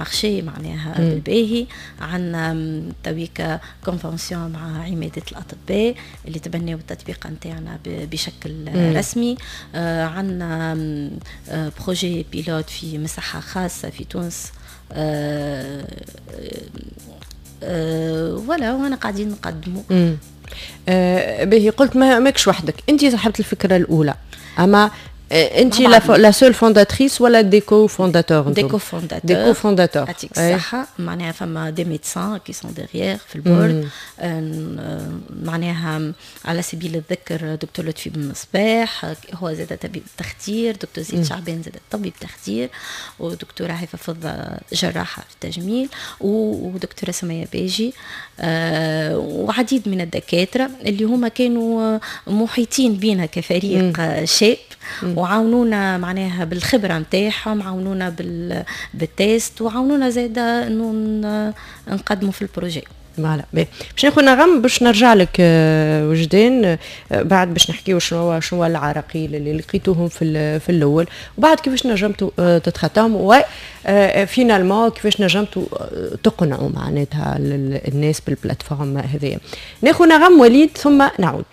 marché معناها بالباهي. عندنا تويكا convention مع عمادة الأطباء اللي تبنوا التطبيق نتاعنا بشكل رسمي. عندنا projet pilote في مصحة خاصة في تونس. Voilà، وانا قاعدين نقدموا. باهي، قلت ما ماكش وحدك، انت صاحبة الفكرة الاولى، اما انت la seule fondatrice ولا des cofondateurs؟ des cofondateurs. des cofondateurs. يعطيك الصحة. معناها فما des médecins qui sont derrière في ال board، معناها على سبيل الذكر دكتور لطفي بن مصباح، هو زاد طبيب تخدير، دكتور زيد شعبان زاد طبيب تخدير، ودكتورة هيفا فضة جراحة في التجميل، ودكتورة سمية باجي، وعديد من الدكاترة اللي هما كانوا محيطين بينا كفريق شاب وعاونونا معناها بالخبرة نتاعهم، عاونونا بال test، وعاونونا زاده انه نقدموا في ال projet. voilà، باش ناخذ نغم، باش نرجع لك وجدان بعد باش نحكيو شنو العراقيل اللي لقيتوهم في الاول، وبعد كيفاش نجمتوا تتخطاهم، و finalement كيفاش نجمتوا تقنعوا معناتها الناس بال plateforme هذيا. ناخذ نغم وليد ثم نعود.